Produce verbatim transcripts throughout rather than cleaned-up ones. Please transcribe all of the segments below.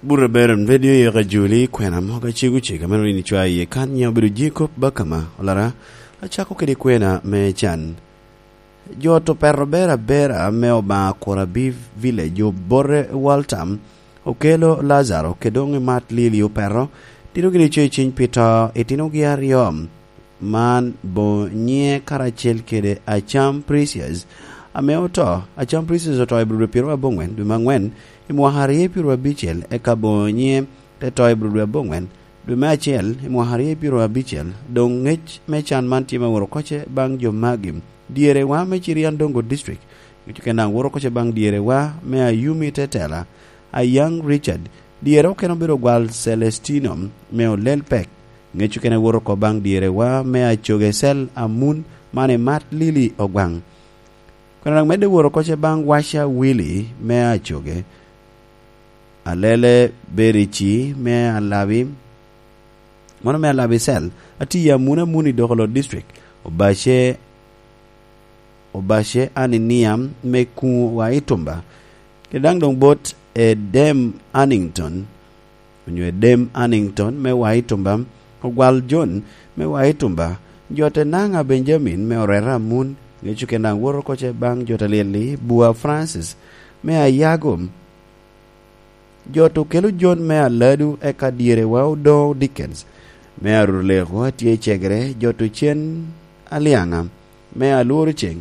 Burra Beron, redio yeka Juli, kwena mogo acego cega me rin icwa iye kan nye obedo Jacob Bakama, olara, acako kede kwena me can. Jo to perro bera bera me Obaŋa Kurabi Village, obote Walter, okelo Lazaro, ke doŋ i mat Lili operro, tino gini co i ciny pi to, itinogi aryo. Man boŋo nyiŋe karacel kede Acam Precious, ame oto. Acam Precious oto i Abril pyeraryo aboŋwen, dwe me aŋwen, i mwaka aryo pyeraryo abicel, eka boŋo nyiŋe te to i Abril aboŋwen, dwe me acel, i mwaka aryo pyeraryo abicel. Doŋ ŋec me can man tye me woro koce baŋ jo magi. Dyere wa me Cirian Dongo District, ŋec okene daŋ woro koce baŋ dyere wa me Ayumi Tetela, Ayaŋ Richard, dyere okene obedo gwal Celestino me Olel Pek, ŋec okene woro oko baŋ dyere wa me Acoge Cel Amun, man i mat Lili Ogwaŋ. Kwena daŋ medde woro koce baŋ Washa Willy me Acoge, Alele Berici me Alabi, mano me Alabi Cel, ati Amun Amun i Dokolo District, Obace, Obace Aninia me Kuŋ wa i Tumba, kede daŋ doŋ bot Edem Annington, onyo Edem Annington me wa i Tumba, Ogwal John me wa i Tumba, jo te Naŋa Benjamin me Orera Amun, ŋec okene daŋ woro koce baŋ jo te Lyelli, Bua Francis me Ayago, jo to kelo John me Aladu, eka dyere wa Odoŋo Dickens me Aruruleko atye i Cegere, jo to Cen Alyaŋa me Alworo Ceŋ,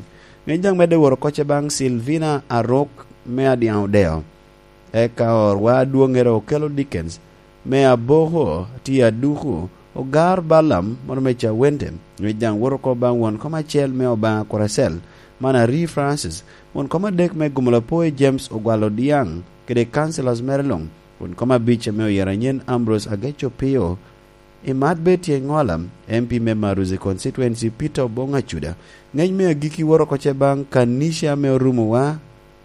ŋec daŋ medde woro koce baŋ Silvina Arok me Adyaŋ Odeo, eka orwa adwoŋŋere okelo Dickens me Aboko tye Aduku, Ogar Balam mono me Cawente, ŋec daŋ woro oko baŋ won kom acel me Obaŋa Kuracel, man Ari Francis, won kom adek me Gumulapoyi James Ogwal Odyaŋ, kede Councilors mere luŋ, won kom abic ame oyero anyen Ambrose Ageco Pio, i mat Betty Engola, M P me Maruzi Constituency, Peter Obong Acuda, ŋec me agikki woro koce baŋ kanica ame orumo wa,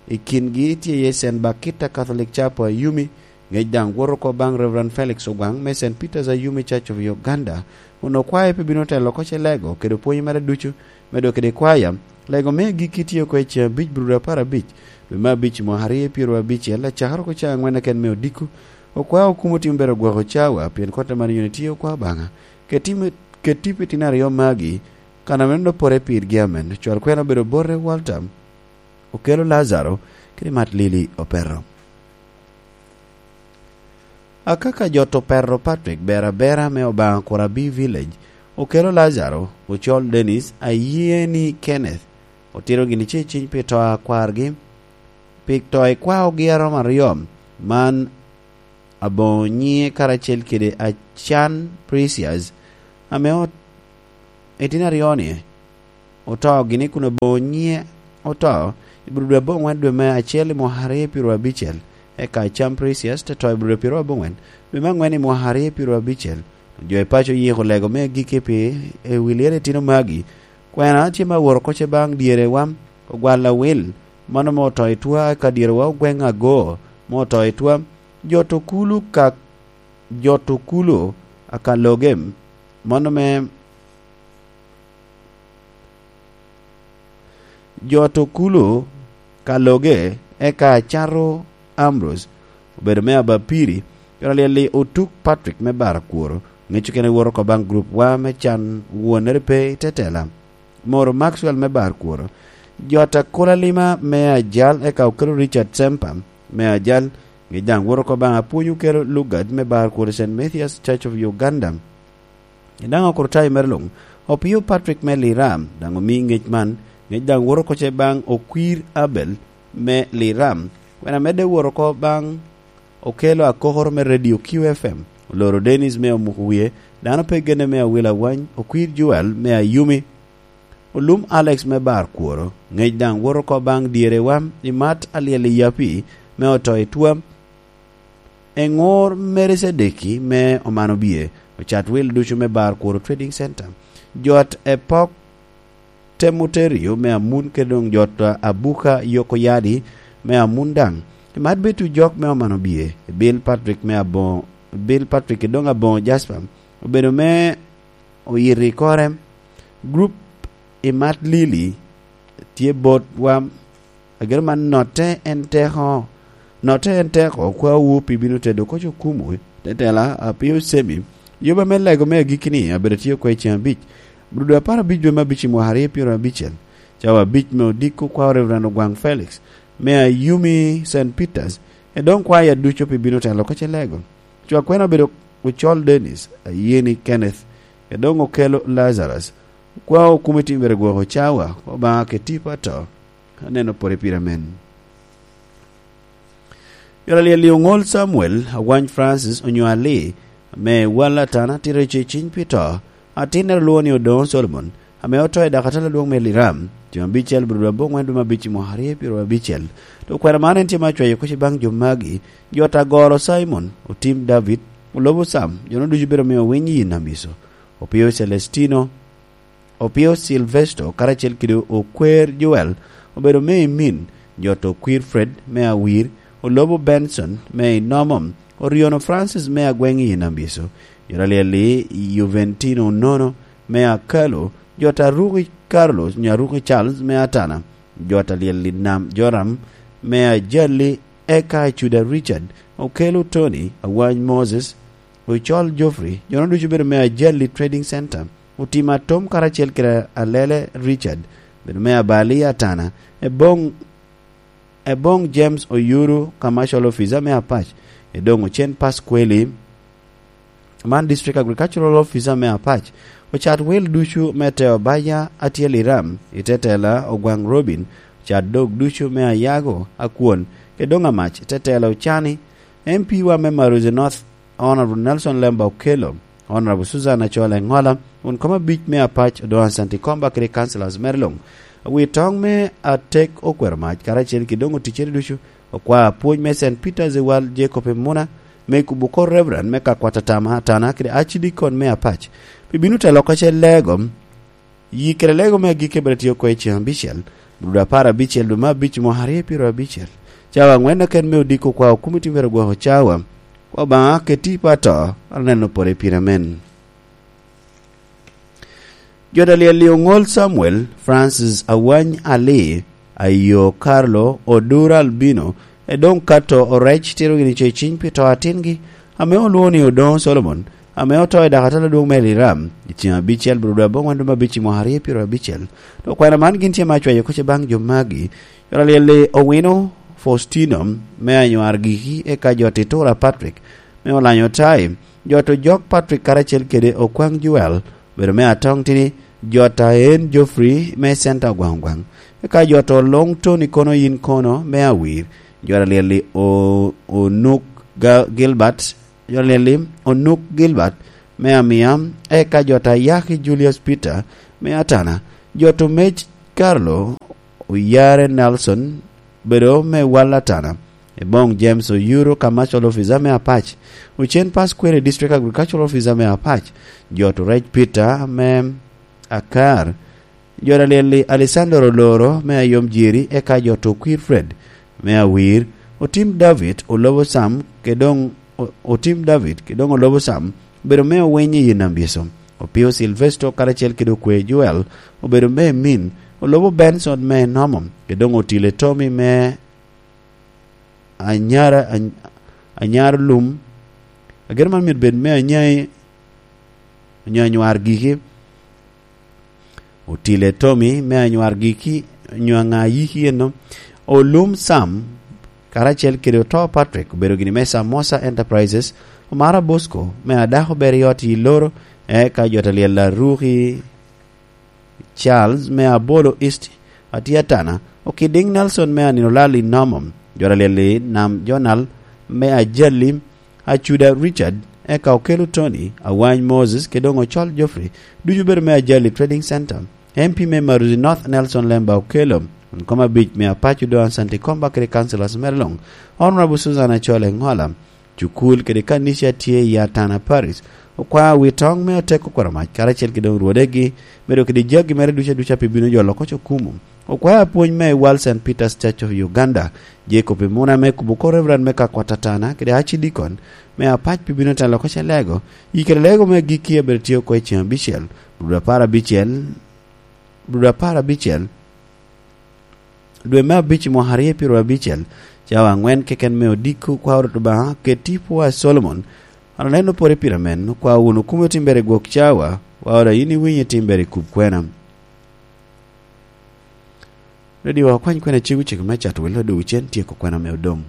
i kingi tye iye Saint Bakita Catholic Chapel Ayumi, ŋec daŋ woro oko baŋ Reverend Felix Ogwaŋ me Saint Peter's Ayumi Church of Uganda, onwo kwaya pe bino telo oko ce lego kede pwony mere ducu, medo kede kwaya, lego me agikki tye oko i ceŋ abic Abril apar abic, dwe me abic mwaka aryo pyeraryo abicel, acakere oko ceŋ aŋwen keken me odiko, okwao okumo timo bedo gwoko cawa, pien kotte man yoni tye okwa Obaŋa. Keti me, keti pi tino aryo magi, kan ame nonok pore pirgi amen, cwal kwena obedo bote Walter, okelo Lazaro, kede mat Lili opeto. Akaka jo to perro Patrick Berabera me Obaŋa Kurabi Village, okelo Lazaro, Ocol Dennis, Ayeni Kenneth, otito gini ce ciny pi to a kwargi, pi to i kwaogi a romo aryo, man aboŋo nyiŋe karacel kede Acan Precious, ame ot-, etino aryo-ni oto gini kun aboŋo nyiŋe oto i Abril dwe aboŋwen dwe me acel i mwaka aryo pyeraryo abicel, eka Acan Precious te to i Abril pyeraryo aboŋwen dwe me aŋwen i mwaka aryo pyeraryo abicel. Jo i paco oyiko lego me agikki pi i wi lyel etino magi. Kwena tye me aworo koce baŋ dyerewa, Ogwal Awil, mano mo oto i twa, eka dyerewa Ogweŋ Ago, mo oto i twa, jo to kulu ka, jo to kulu aka loge, mano me jo to kulu ka loge, eka Acato Ambrose, obedo me Abapiri, jo alyel-li Otuk Patrick me Barakworo, ŋec okene woro oko baŋ grup wa me can wonere pe i tetela. Moro Maxwell me Barakworo, jo ata Kola Lima me Ajal, eka okelo Richard Sempa me Ajal, ŋec daŋ woro oko baŋ Apwony okelo Lugard me Barakworo Saint Mathias Church of Uganda. I daŋ okuro tayo mere luŋ, Opio Patrick me Liram, daŋ omi ŋec man, ŋec daŋ woro koce baŋ Okwir Abel me Liram, kwena medde woro oko baŋ okelo akokoro me Radio Q F M, oloro Dennis me omuko wie, dano pe genne me Awil Awany, Okwir Joel me Ayumi, Olum Alex me Barakworo, ŋec daŋ woro oko baŋ dyerewa, i mat alyel i Yapi me oto i twa, Eŋor Mary Sadeki me Omano Bie, ocat wil ducu me Barakworo Trading Center, jot Epok Temuterio me Amun kede doŋ jot Abuka Yoko Yadi me Amun daŋ. I mat bedo jok me Omano Bie, Bill Patrick me Aboŋo, Bill Patrick kede doŋ Aboŋo Jasper, obedo me oyito i kore. Grup i mat Lili tye botwa, ageno man notte en teko, Notte en teko, okwaowu pi bino tedo koc okumu, tetela, a pio cemi. Yoba me lego me agikki-ni abedo tye oko i ceŋ abic, brudo apar abic dwe me abic i mwaka aryo pyero abicel. Cawa abic me odiko kwao Reverend Ogwaŋ Felix, me Ayumi Saint Peters, e doŋ kwaya ducu pi bino telo koc i lego. Cwa kwena obedo Ocol Dennis, Ayeni Kenneth, e doŋ okelo Lazarus. Kwao okume timere gwoko cawa, Obaŋa ke tipo ato. Aneno pore pire men. Yot alyel i oŋol Samuel, Awany Francis, onyo Ali, ame wal atana tito i ceciny pi to, atinnere olwoŋo ni Odoŋo Solomon, ame oto i dakatala adwoŋ me Liram, tyen abicel brudo aboŋwen dwe me abic i mwaka aryo pyero abicel. To kwena man en tye ma acwayo kuc baŋ jo magi, jo ta goro Simon, otim David, olobo Sam, jo no ducu bedo omio winy i Namiso, opio Celestino, opio Silvesto, karacel kede okwer Joel, obedo me i min, jo to kwir Fred, me Awir, olobo Benson, me i Nomom, oriono Francis, me agweŋ i Namiso, jo ta lyel i Juventino Nono, me Akalo, jo ta ruki Carlos, nyo aruki Charles, me Atana, jo ta lyel i Nam Joram, me Ajali, eka Cuda Richard, okelo Tony, Awany Moses, Ocol Geoffrey, jo no ducu bedo me Ajali Trading Center, otim atom karacel kede Alele Richard, bedo me Abali Atana, Eboŋ, Eboŋ James Oyuru, Commercial Officer me Apac, Edoŋ Ocen Pasqueli, man District Agricultural Officer me Apac, ocat wil ducu me Teo Baya Atyel Iram, i tetela Ogwaŋ Robin, ocat dog ducu me Ayago, Akwon, Edoŋ Amac, tetela Ocani, M P wa me Maruzi North, Honorable Nelson Lemba Okello, Honorable Susan Achol Engola, won kom abic me Apac, Odoŋo Asanti Komba kede councillors mere luŋ. Wi toŋ me atek okwero mac, karacel ki doŋ oticcere ducu, okwa apwony me Saint Peter's Ewal Jacob Emuna, me kubo kor Reverend me ka kwat atama atana kede Archdeacon me Apac. Pi bino te loko ce lego, Yi kede lego me agikki bene tye oko i ceŋ abicel, brudo apar abicel dwe me abic mwaka aryo pyero abicel. Cawa aŋwen keken me odiko kwa okumiti myero gwoko cawa. Obaŋa keti pa to, aneno pore pire men. Jo ta lyel i oŋol Samuel, Francis Awany Ali, Ayo Carlo, Odura Albino, Edoŋ Kato Orec tito gini co i ciny pi to atingi, ame olwoŋo ni Odoŋo Solomon, ame oto i dakatala adwoŋ me Liram, i ceŋ abicel brudo aboŋwen dwe me abic i mwaka aryo pyero abicel. To kwena man gin tye ma acwayo kuc baŋ jo magi, jo ta lyel i Owino Faustino, me anywar giki, eka jo Titura Patrick, me Olanyo Tai, jo to Jok Patrick karacel kede Okwaŋ Joel, bedo me Atong Tini, jo ta en Geoffrey me Center Ogwaŋ Ogwaŋ, eka jo to Long Tony kono yin kono me Awir, jo ta lyel i O-, Onuk Ga-, Gilbert, jo ta lyel i Onuk Gilbert me Amia, eka jo ta Yaki Julius Peter me Atana, jo to Mej Carlo Oyare Nelson, bedo me wal atana, Eboŋ James Oyuro, Commercial Officer me Apac, Ocen Pasquere, District Agricultural Officer me Apac, jo to Rec Peter me Akar, jo ta lyel i Alessandro Oloro me Ayom Jiri, eka jo to Kwir Fred me Awir, Otim David, Olobo Sam, ke doŋ O-, Otim David, ke doŋ Olobo Sam, obedo me Owiny i Nambyeso. Opio Silvesto karacel kede Okwe Joel, obedo me Min, Olobo Benson me Nomo, ke doŋ Otile Tommy me Anyara, Any-, Anyar Lum. Ageno man myero bed me Anyai, onyo Anywar Giki. Otile Tommy me Anywar Giki, onyo Aŋa Yiki eno. Olum Sam, karacel kede Oto Patrick, obedo gini me Samosa Enterprises, Omara Bosco, me Adako Beriot i Loro, eka jo ta lyel Aruki Charles, me Abolo East, Atiatana, Okidiŋ Nelson, me Anino Lal i Nomo, jo ta lyel i Nam Jonal, me Ajali, Acuda Richard, eka Okelo Tony, Awany Moses, ke doŋ Ocol Geoffrey, ducu bedo me Ajali Trading Center. M P me Maruzi North Nelson Lemba Okelo, won kom abic me Apac Odoŋo Asanti Komba kede councillors mere luŋ, Honorable Susan Achol Engola, cukul kede kanica tye i Atana Parish, okwao wi toŋ me atek okwero mac karacel kede orwodegi, bedo kede jagi mere duca duca pi bino jolo koc okumu. Okwao apwony me Wal Saint Peter's Church of Uganda, Jacob Imuna me kubo kor Reverend me ka kwat atana kede Archdeacon me Apac pi bino telo koc elego, i kede lego me gikki a bedo tye oko i ceŋ abicel, brudo apar abicel, brudo apar abicel, dwe me abic i mwaka aryo pyero abicel, Cawa aŋwen keken me odiko, kwa Orot Obaŋa, keti pwo a Solomon, an aneno pore pira men, okwa wunu kume timbere i gwok cawa, wa ora yin iwinyo timbere i kub kwena. Radio wa kwany kwena cego cego me cato welo dogo cen tyeko kwena me odom.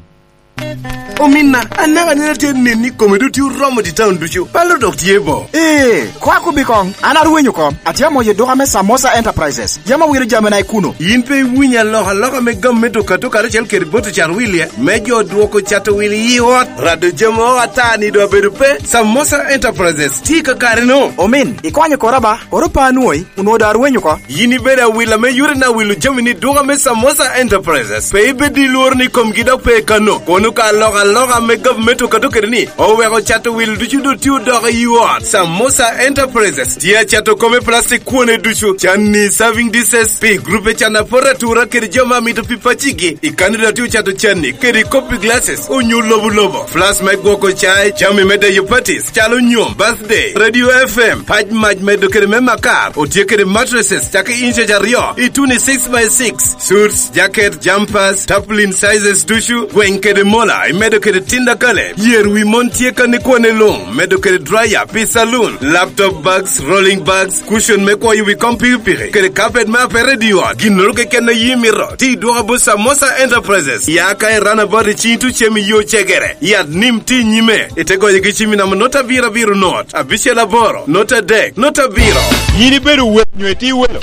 Ominna, anaka nene tye nini kome do tye oromo di taun ducu. Palo dok tye bo. Ee, kwa kubi koŋ, an arwenyo kom. Atye amoyo duka me Samosa Enterprises. Yam awilo jamina i kuno. In pe iwinyo alokaloka me gam me duka to karacel kede boto cato wil ye? Me jo dwoko cato wil i ot, rado jami o ata ni do abedo pe. Samosa Enterprises tye ka kare no. Omin, ikonyo kora ba, oro pa anwoyi, onwoŋo do arwenyo ko. Yin ibedo awila me yore na wilo jami ni duka me Samosa Enterprises. Pe ibed i lworo ni komgi dok pe kano. Kono ka alokaloka me gavumenti okato kede ni, oweko cato wil ducu do tye odoko i ot. Samosa Enterprises tye acato kome plastic kwone ducu, canni, serving dishes, pi grupe can apor atura kede jo ma mito pi pacigi. I Canada tye ocato canni kede kopi glasses, onyo lobo lobo, flask me gwoko cai, jami me deyo parties, calo nyom, birthday, radio F M, pac mac medo kede me makar, otye kede mattresses, cako inches aryo, i tuni six by six, suits, jacket, jumpers, tarpaulin sizes ducu, gweng kede mola, imedo kede tinda kale, yer wi mon tye kan i kwane luŋ, medo kede dryer pi saloon, laptop bags, rolling bags, cushion me kwoyo wi kom pikipiki, kede carpet me apere i ot, ginnoro keken a yi mito, ti dwoka bot Samosa Enterprises, ya ka i runabout i cing tucem i yo cegere, yat nim ti nyime, ite goyo gi cimi namba nota abiro abiro not, abicel aboro, nota adek, nota abiro. Yin ibedo wel nyo itye welo?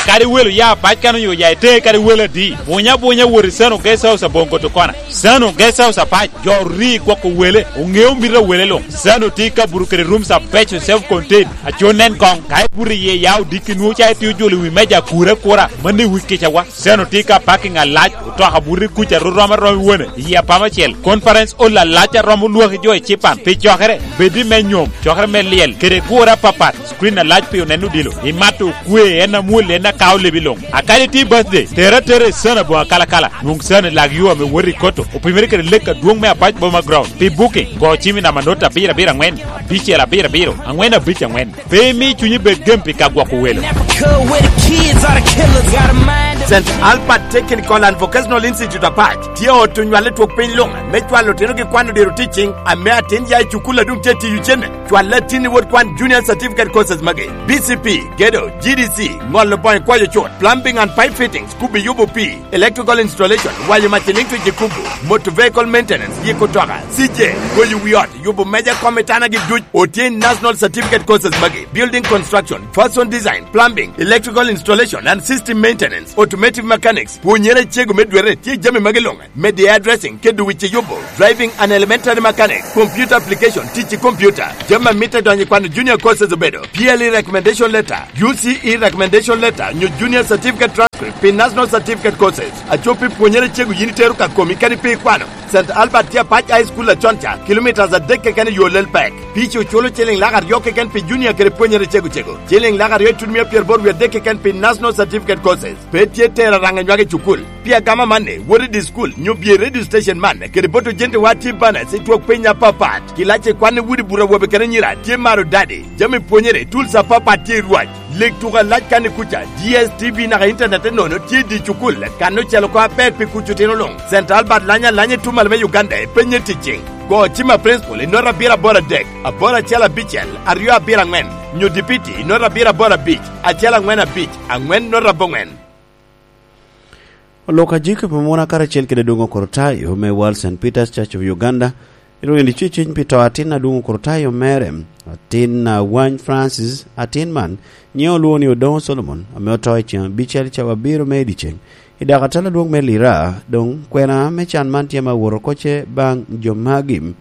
Akadi welo ya apac kan onyo ya ite kadi welo adi? Bunya bunya wot i Sano Guest House aboŋo koto kona. Sano Guest House apac, jo ori gwoko wele, oŋeo mito a wele luŋ. Sano tye ka buto kede rooms abeco self contained. Aco nen koŋ, ka ibuto iye ya odiki nwoŋo ca itye ojolo i wi meja akura akura, mano i wi kicawa. Sano tye ka parking alac, otoka buto i kuca ru rom arom i wone, i apama acel. Conference hall alac a romo lwaki jo i Cipan, pi cokere, bed i me nyom, cokere me lyel, kede gure apapat. Screen alac pi oneno odilo, imato okwe, en amwol, en akao lebi luŋ. Akadi tye birthday, tere atera i Sano aboŋo akalakala, nwoŋ Sano i lag yo ame wot i Koto, opimere kede lek adwoŋ me Apac Boma Ground. Pi booking, go cim i namba not abiro abiro aŋwen, abicel abiro abiro, aŋwen abic aŋwen. Pe imi cunyi bed gem pi ka gwoko welo. Saint Albert Technical and Vocational Institute Apac tye ot onywale twok piny luŋ me cwalo otino gi kwano diro teaching ame atin ya i cukul a doŋ tye tiyo cene. Cwal latin i wot kwan Junior Certificate Courses magi: B C P, Gedo, G D C, ŋolo boŋo kwayo cut, plumbing and pipe fittings, kubi yubo pii, electrical installation, wanyo mac i liŋ twic i kubo, motor vehicle maintenance, yiko toka, C J, goyo wi ot, yubo meja kom i tana gi duc. Otye i National Certificate Courses magi: building construction, fashion design, plumbing, electrical installation and system maintenance, automotive mechanics. Pwonyere cego me dwere tye jami magi luŋ: media addressing, kedo wic i yubo, driving and elementary mechanic, computer application, tic i computer. Jami a mitte donyo i kwano junior courses obedo P L E recommendation letter, U C E recommendation letter, nyo junior certificate transcript pi national certificate courses. Aco pi pwonyere cego yin itero ka komi kadi pi kwano. Saint Albert tye Apac High School acon ca, kilometres adek keken i yo lel pek. Pici oculo ciliŋ lak aryo keken pi junior kede pwonyere cego cego, ciliŋ lak aryo itutumia pyeraboro wie adek keken pi national certificate courses. Pe tye tero araŋa nywage i cukul. Pi agama amanni, wot i di cukul, nyo bye i radio station man, kede bot ojentewa tye banas i twok piny apapat. Kilac i kwan i udi buto awobe kede anyira tye maro dadi. Jami pwonyere, tools apapat tye i rwac. Leg tuko alac kan i kuca, D S T V naka internet enono tye i di cukul, kan ocel oko aber pi kuc otino luŋ. Saint Albert lany alanya i tumal me Uganda, ipenye ticing. Go cim a principal i nota abiro aboro adek, aboro acel abicel, aryo abiro aŋwen, nyo dipiti i nota abiro aboro abic, acel aŋwen abic, aŋwen nota aboŋwen. Olok ajiki pi muna karacel kede Adwoŋ Okorotayo me World Saint Peter's Church of Uganda, irweny liceceny pi to atin Adwoŋ Okorotayo mere, atin Awany Francis, atin man nyiŋe olwoŋo ni Odoŋo Solomon, ame oto i ceŋ abicel cawa abiro me i dyeceŋ. I dakatal adwoŋ me Lira, doŋ kwena me can man tye ame awot oko ce baŋ jo magi.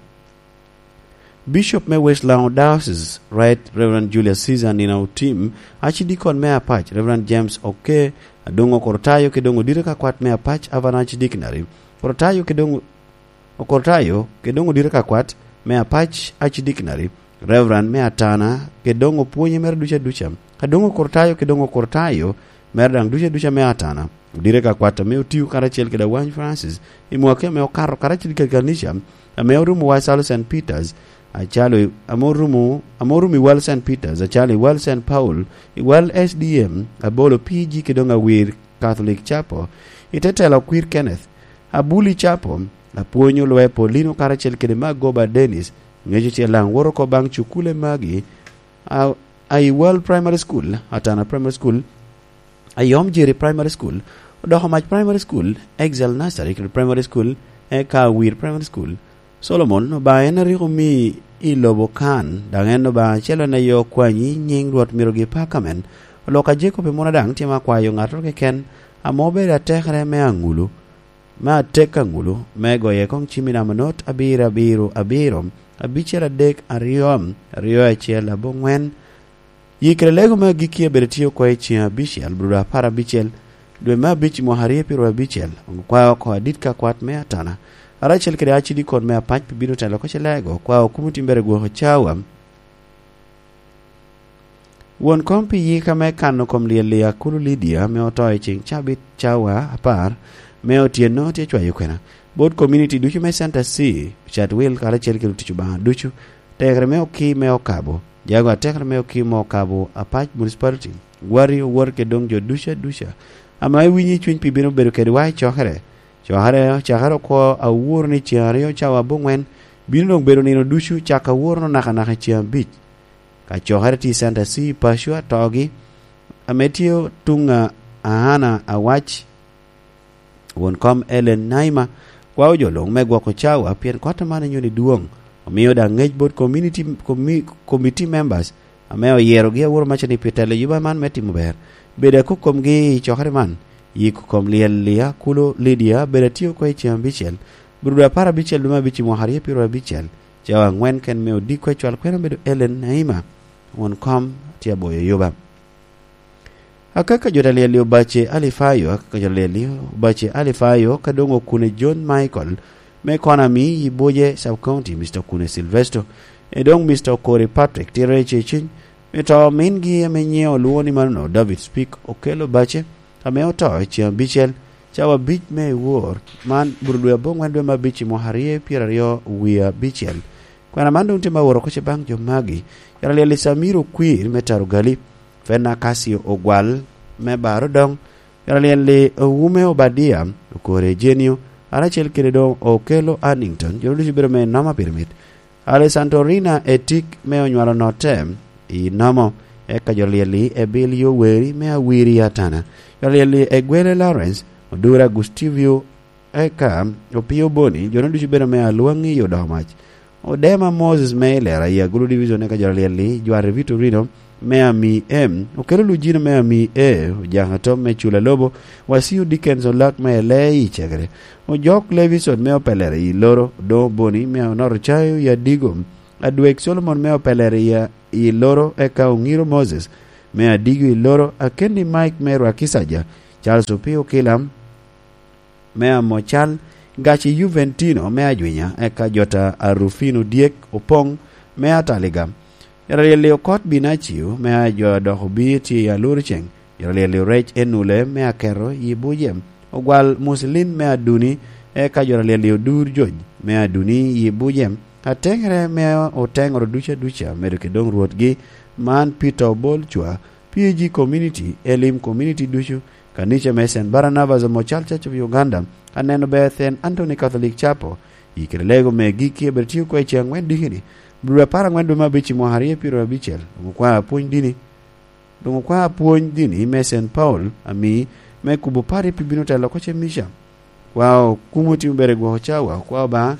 Bishop me West Lango Diocese, Right Reverend Julius Caesar Nina Otim, Archdeacon me Apac, Reverend James Oke, Adwoŋ Okorotayo kede Odoŋo Odite ka Kwat me Apac, Avan Archdeaconry, Okorotayo kede Odoŋo, Okorotayo kede Odoŋo Odite ka Kwat me Apac, Archdeaconry, Reverend me Atana, kede Odoŋo Pwonye mere ducu aduca, Adwoŋ Okorotayo kede Odoŋo Okorotayo mere daŋ ducu aduca me Atana. Odite ka Kwat ame otio karacel kede Awany Francis i mwaki ame okato karacel kede kanica, ame orumo Wacalo Saint Peter's, acalo i, ame orumo, ame orumo i Wal Saint Peter's, acalo i Wal Saint Paul, i Wal S D M, Abolo P G kede doŋ Awir Catholic Chapel, i te telo Okwir Kenneth, Abuli Capo, apwony olwe Paulino karacel kede Magoba Dennis, ŋeco ce laŋ woro oko baŋ cukule magi, a, a i World Primary School, Atana Primary School, Ayom Jiri Primary School, Odoko Mac Primary School, Excel Nursery kede Primary School, eka Awir Primary School. Solomon, Obaŋa en a rik omi i lobo kan, daŋ en Obaŋa acel en aye okwanyi nyiŋ Rwot Mirogi Pakamen. Olok a Jacob i muna daŋ tye ma kwayo ŋattoro keken, ame obedo atekere me aŋulu, me atek aŋulu, me goye koŋ cimmi namba not abiro abiro abiro, abicel adek aryo, aryo acel aboŋwen. Yikere lego me agikki abedo tye oko i ceŋ abicel, brudo apar abicel, dwe me abic i mwaka aryo pyero abicel, ongo kwao oko adit ka kwat me Atana. Aracel kede acidikon me apac pi bino telo koce lego, kwao kumo timbere gwoko cawa. Won kom pi yika me kano kom lyel i Akulu Lydia ame oto i ceŋ cabit cawa apar me otyeno tye cwayo kwena. Bot community ducu me Center C, Chatwil karacel kede otic Obaŋa ducu, tekere me oki me okabo, jago atekere me oki me okabo Apac Municipality, gwari owor kede doŋ jo ducu aduca ame iwinyo i cuny pi bino bedo kedwa i cokere. Cokere, cakere oko aworo ni ceŋ aryo cawa aboŋwen, bino doŋ bedo nino ducu cak aworo nakanaka i ceŋ abic. Ka cokere tye i Center C i paco atogi, ame tye tuŋ a Ahana Awac, won kom Ellen Naima, kwao jo luŋ me gwoko cawa pien kot man inyoni dwoŋ, omio daŋ ŋec bot community, commi-, committee members ame oyerogi aworo macani pi telo yuba man me timo ber. Bedo akok komgi i cokere man, yiko kom lyel i Akulu Lydia bedo atye oko i ceŋ abicel, brudo apar abicel dwe me abic i mwaka aryo pyero abicel, cawa aŋwen ken me odiko acwal kwena obedo Ellen Naima, won kom tye aboyo yuba. Akaka jo ta lyel i Obace Alifayo, akaka jo ta lyel i Obace Alifayo, ka doŋ okune John Michael, me Konami i Buje Sub County, Mister Okune Silvesto, e doŋ Mister Okori Patrick, tye rec i ciny, me to mingi ame nyiŋe olwoŋo ni manono, David Speak Okello Bace, ame oto i ceŋ abicel, cawa abic me i wor, man buro dwe aboŋwen dwe me abic i mwaka aryo pyeraryo wie abicel. Kwena man doŋ tye ma woro oko ce baŋ jo magi, yara lyel i Samir Okwir me Tarugali, Fena Kasio Ogwal me Baro Doŋ, yara lyel i Owume Obadia, Okore Ejenio, aracel kede doŋ Okello Annington, jo ducu bedo me noma pirimit. Alessantorina Etik me onywalo notte i nomo, eka jo lyel i Ebil Yoweri me Awiri Atana, jo lyel i Egwele Lawrence, Odura Gustivio, eka Opio Boni, jo ducu bedo me Alwaŋi i Odomac. Odema Moses me Ilera i Agulu Division, eka jo lyel i Jware Vitorino me Ami M, Okelo Lujino me Ami E, Ojaka Tom me Cula Lobo, Wasiu Dickens Olak me Ele i Cegere, Ojok Levison me Opelere i Loro, Odoŋo Boni me Onoro Cayo i Adigo, Adwek Solomon me Opelere i, i Loro, eka Oŋiro Moses me Adigo i Loro, Akendi Mike me Rwakisaja, Charles Opio Kilam me Amocal, Gaci Juventino me Ajwinya, eka Jota Arufino Dyek Opoŋ me Ataliga, Yara lyel i Okot Binacio me a jo a dok obir tye i Aluru Ceŋ, yara lyel i Orec Enule me Aketo i Buje, Ogwal Muslin me Aduni, eka jo yara lyel i Odur Jony me Aduni i Buje, Ateŋere me oteŋoro duca duca, medo kede doŋ rwotgi, man Peter Obol Cwa, P A G Community, Elim Community ducu, Kanica me Saint Barnabas Omocal Church of Uganda, Aneno Beth en Anthony Catholic Chapel, i kede lego me gikki abed tye oko i ceŋ aŋwen dikini, bulu apar aŋwen dwe me abic i mwaka aryo pyero abicel, doŋ okwao apwony dini, doŋ okwao apwony dini me Saint Paul, ami me kubo pari pi bino telo oko ce Mica. Kwao kumo timo bere gwoko cawa, okwao Obaŋa,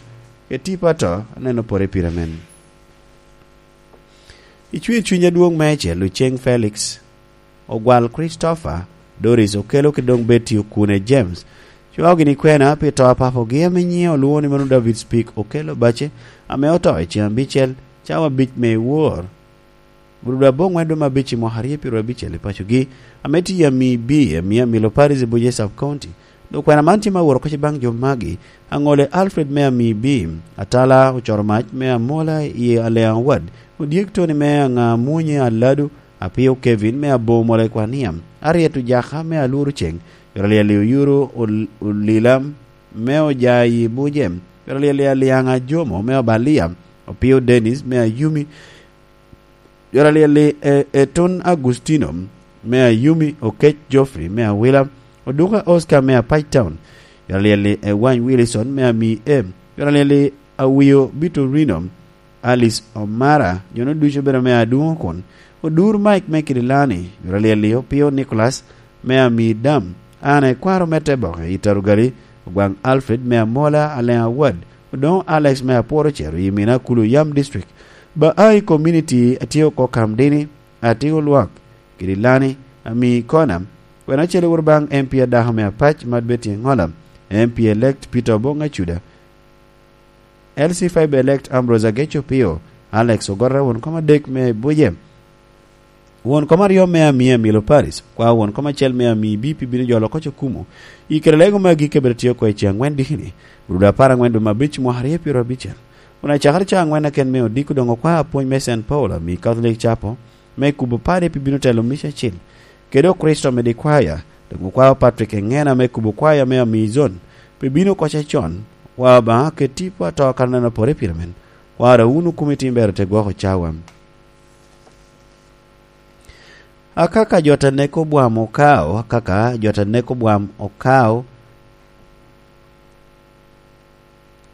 ke tipo ato, aneno pore pire men. Icwir cuny adwoŋ meicel, Luceng Felix, Ogwal Christopher, Doris Okello kede doŋ Betty Okune James, cwao gini kwena pi to a papogi ame nyiŋe olwoŋo ni mano David Speak Okello Bace, ame oto i ceŋ abicel, cawa abic me i wor. Bulu dwe aboŋwen dwe me abic i mwaka aryo pyero abicel i pacogi, ame tye i Ami B, Ami Amilo Parish i Buje Sub County. Dok kwena man tye ma woro koc baŋ jo magi, Aŋole Alfred me Ami B, Atala Ocoro Mac me Amola i Aleaŋ Ward, Odyek Tony me Aŋa Munye Aladu, Apio Kevin me Abo Mola i Kwania, Ariet Ojaka me Alworo Ceŋ, Yoro Lyel i Oyuro Ol-, Olila me Ojayi Buje, Yoro Lyel i Aliaŋ Ajomo me Obalia, Opio Dennis me Ayumi, Yoro Lyel i E-, Etun Agustino me Ayumi, Okec Geoffrey me Awila, Oduka Oscar me Apac Town, Jor alyel-li Ewany Wilson me Amii M. Jor alyel-li Awio Bitorino, Alice Omara, jo-nu ducu obedo me Adungo kun. Odur Mike me Kidilani, jor alyel-li Opio Nicholas me Amii Dam, Ana Ekwaro me Teboke i Tarugali, Ogwaŋ Alfred me Amola Aleŋ Awad, Odoŋo Alex me Apworo Cero i Mina Kulu Yam District. Ba a i community atye oko Kamdini, Atiko Lwak, Kidilani, Amii Kona, kwena acel woro baŋ M P adako me Apac, Mad Betty Engola, M P elect Peter Obong Acuda, L C five elect Ambrose Ageco Pio, Alex Ogorra, won kom adek me Buje, won kom aryo me Amii Amilo Paris, kwa won kom acel me Amii B P bino jolo oko Cukumu. I kare lego me agikki abiro tye oko i ceŋ angwen dikini, rudo apar angwen dwe me abic mwaka aryo pyero abicel. Kun acakere ca angwen aken me odiko doŋ okwa apwony me Saint Paul, Amii Catholic Chapel, me kubo padi pi bino telo mic acil, kede Okricito me di kwaya, doŋ okwao Patrick Engena me kubo kwaya me Amii Zone, pi bino oko acon, wa Obaŋa ket tipo ato kan aneno pore pire men, wara wunu kumi tim ber te gwoko cawa. Akaka jo ta neko bwam okao, akaka jo ta neko bwam okao,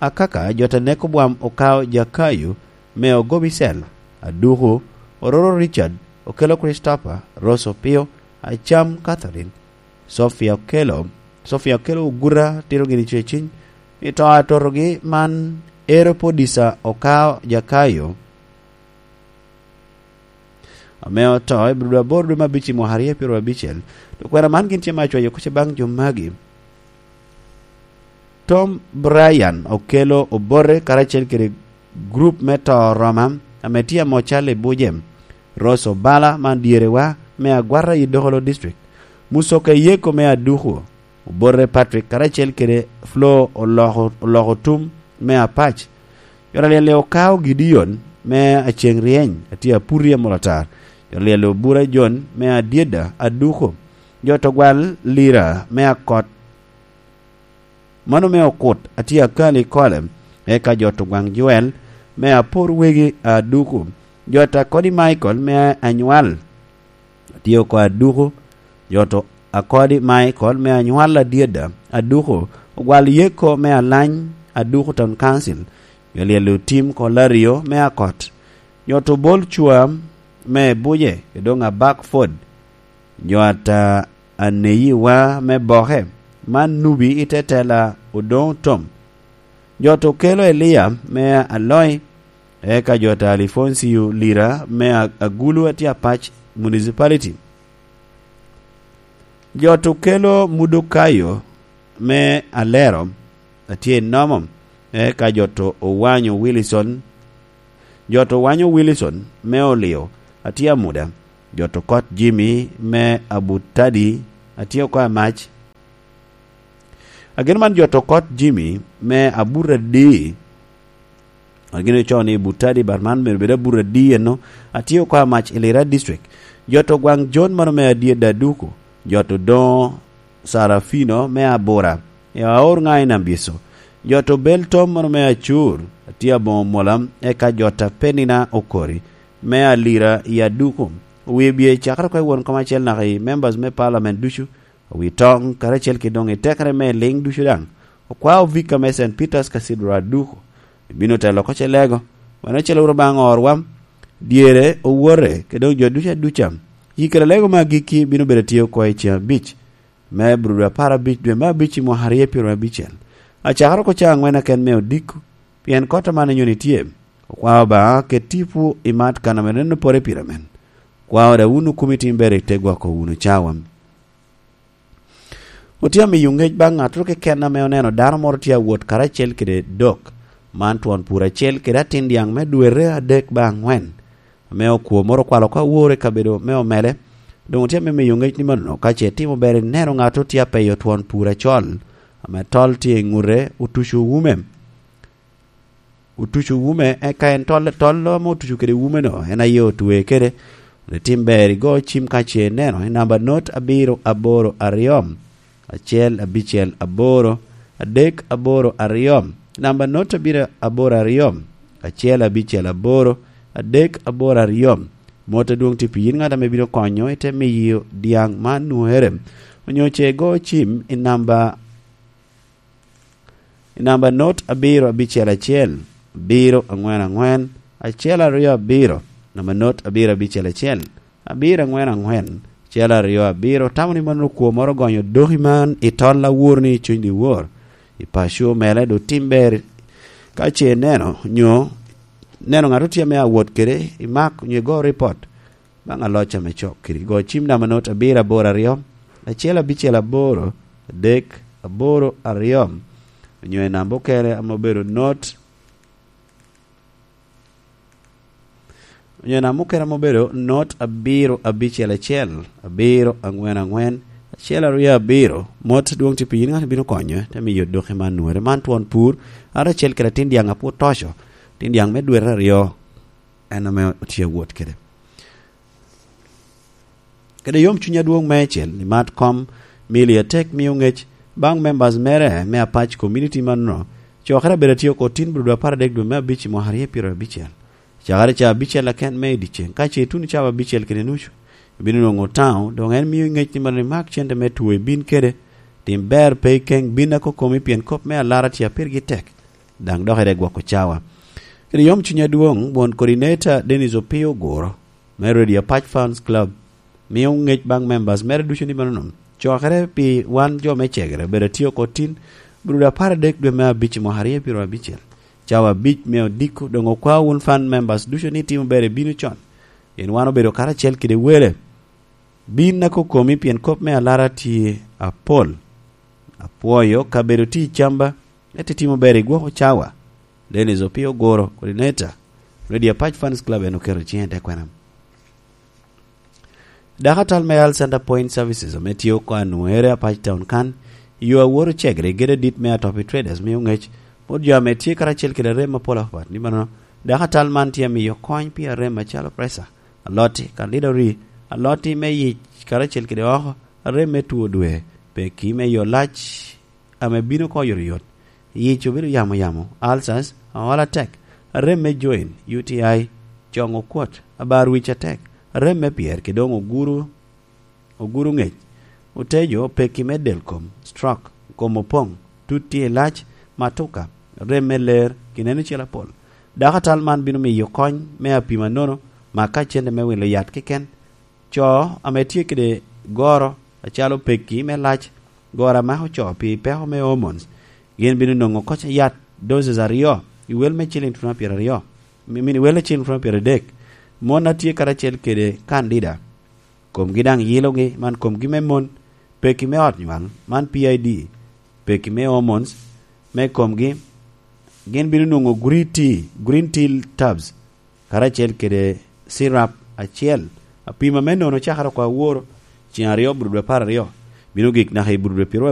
Akaka jo ta neko bwam okao Jakayo me Ogobi Cell, Aduku, Ororo Richard, Okelo Christopher, Rose Opio, Acam Catherine, Sophia Okelo, Sophia Okelo Oguta, tito gini ceciny, i to atotogi man, Ero Podisa okao Jakayo, ame oto i Brudu aboro dwe me abic i mwaka aryo pyero abicel. To kwena man gin tye me acwayo kuca baŋ jo magi. Tom Brian Okelo Obote karacel kede gurup me to Roma ame tye amo Charlie Bujem, Rose Obala man dyerewa me Agwata i Dokolo District, Musoke Yeko me Aduku, Obote Patrick karacel kede Flo Oloko, Oloko Tum me Apac. Jor alyel-li okao Gideon me Aceŋ Ryeny, atye aputi amol atar. Jor alyel-li Obura Jon me Adyeda Aduku. Jo to gwal Lira me Akot, mano me Okut, atye akali i Kolem. Eka jo to gwaŋ Joel me Apor Wegi Aduku. Jo to Akodi Michael me Anywal, atye oko Aduku. Jo to Akodi Michael me Anywal Adyeda Aduku, ogwal Yeko me Alany Aduku Town Council. Jo alyel otim ko Lario me Akot. Jo to Bol Cwa me Buje, Edong Abak Ford. Jo ata Aneyiwa me Boke, man Nubi i te tela Odoŋo Tom. Jo to Kelo Elia me Aloi, eka jo ta Alifoncio Lira me A-, Agulu atye Apac Municipality. Jo to Kelo Mudokayo me Alero, atye i Nomo, eka jo to Owanyo Wilson, jo to Owanyo Wilson me Olio, atye Amuda, jo to Kot Jimmy me Abutadi, atye oko Amac. Agin man jo to Kot Jimmy me Aburadi, agin ocoo ni Butadi, but man myero bed Aburadi eno, atye oko Amac i Lira District. Jo to gwaŋ Jon mano me Adyeda Aduku, jo to Doŋo Sarafino me Abura, i Aor ŋa i Nambyeco. Jo to Bel Tom mano me Acur, atye Aboŋo Mola, eka jo ta Penina Okori, me Alira i Aduku. Wie bye cakere oko i won kom acel naka i members me parliament ducu, owi toŋ, karacel ki doŋ i tekere me liŋ ducu daŋ. Okwao Vika me Saint Peter's Cathedral Aduku, ibino telo oko Celego, wano acel wuro baŋ orwa, dyere, owote, kede doŋ jo ducu aduca. Yi kede lego me agikki bino bedo tye oko i ceŋ abic, me Abril apar abic dwe me abic i mwaka aryo pyero abicel. Acakere oko ca angwen aken me odiko, pien kot aman onyo tye. Okwao Obaŋa ket tipo i mat kan ame neno pore pire men. Kwao da wun okumi tim ber i te gwoko wunu cawa. Otye amiyo ŋec baŋ ŋattoro keken ame oneno dano moro tye awot karacel kede dok. Man twon pur acel kede atin dyaŋ me dwete adek ba aŋwen, ame okwo moro okwalo oko awor i kabedo me omele. Doŋ otye ame miyo ŋec ni manono ka ce itimo ber ineno ŋattoro tye apeyo twon pur acol, ame tol tye i ŋute, otuco wume. Otuco wume, eka en tol, tol ame otuco kede wume-no, en aye otwe kede. Ri tim ber igo cim ka ce ineno, i namba not abiro aboro aryo, acel abicel aboro, adek aboro aryo, namba not abiro aboro aryo, acel abicel aboro, adek aboro aryo. Mot adwoŋ tye pi yin ŋat ame bino konyo i te miyo dyaŋ man nwoŋere. Onyo ce igo cim i namba I namba not abiro abicel acel, abiro aŋwen aŋwen, acel aryo abiro, namba not abiro abicel acel, abiro aŋwen aŋwen, acel aryo abiro, tamo ni mano okwo moro ogonyo doki man i tol awor ni i cuny dyewor, i paco mele do tim ber ka ce ineno, nyo neno ŋat otye ame awot kede, imak nyo igo ripot baŋ aloc ame cok kiri. Go cim namba not abiro aboro aryo, acel abicel aboro, adek, aboro, aryo, onyo i namba okene ame obedo not, onyo i namba okene ame obedo not abiro abicel acel, abiro aŋwen aŋwen, acel aryo abiro, mot dwong tye pi yin ŋat ibino konyo, te miyo doki man nwere. Man twon pur, ŋat acel kede atin dyaŋ apwod toco, atin dyaŋ me dwete aryo, en ame otye awot kede. Kede yom cuny adwoŋ meicel, ni mat kom mili atek mio ŋec baŋ members mere me apac community manno, cokere abedo atye oko tin brudo apar adek dwe me abic i mwaka aryo pyero abicel. Cakere ca abicel aken me i dyeceŋ, ka ce ituno cawa abicel kede nucu, ibino nwoŋo taŋo, doŋ en mio ŋec ni mano imak cente me two ibin kede, tim ber pe ikeŋ bin akokomi pien kop me alara tye a pirgi tek, daŋ dok ire gwoko cawa. Kede yom cuny adwoŋ, won coordinator Dennis Opio Oguro, me Radio Apac Fans Club, mio ŋec baŋ members mere ducu ni mano nom. Cokere pi wan jo me cegere, bedo atye oko tin, brudo apar adek dwe me abic i mwaka aryo pyero abicel. Cawa abic me odiko, doŋ okwa wun fan members ducu ni timo ber ibino con. Pien wan obedo karacel kede wele. Bin akokomi pien kop me alara tye apol. Apwoyo kabedo tye i camba, ete timo ber i gwoko cawa. Dennis Opio Oguro, coordinator, Radio Apac Fans Club, en oketo ciŋe i te kwena. Dako atal me Health Center Point Services ame tye oko anwere Apac Town kan, i yo aworo cegre i gedo adit me Atopi Traders mio ŋec, bot jo ame tye karacel kede rem apol apat, ni mano, dako atal man tye amiyo kony pi arem macalo pressure, aloti, kandida ori, aloti me yic karacel kede oko, arem me two dwe, peki me yo lac, ame bino oko oyotoyot, yic obedo yamo yamo, ulcers, aola tek, arem me joint, U T I, coŋ okwot, abar wic atek, arem me pyer, kede doŋ oguro, oguro ŋec, otejo, peki me del kom, stroke, kom opoŋ, tut tye i lac, matuka, rem me ler, gineno cel apol. Dako atal man bino miyo kony me apima nono, maka cente me wilo yat keken, co ame tye kede goro acalo peki me lac, goro a mako co pi peko me hormones, gin bino nwoŋo koc yat doses aryo i wel me ciliŋ twon pyeraryo, mi-, mini wel me ciliŋ twon pyeradek. Mon a tye karacel kede kandida, komgi daŋ yilogi, man komgi me mon, peki me ot nywal, man P I D, peki me hormones me komgi, gin bino nwoŋo green tea, green tea tabs, karacel kede cirap acel. Apima me nono cakere oko aworo, ceng aryo, burudwe apar aryo, bino gik naka i burudwe pyero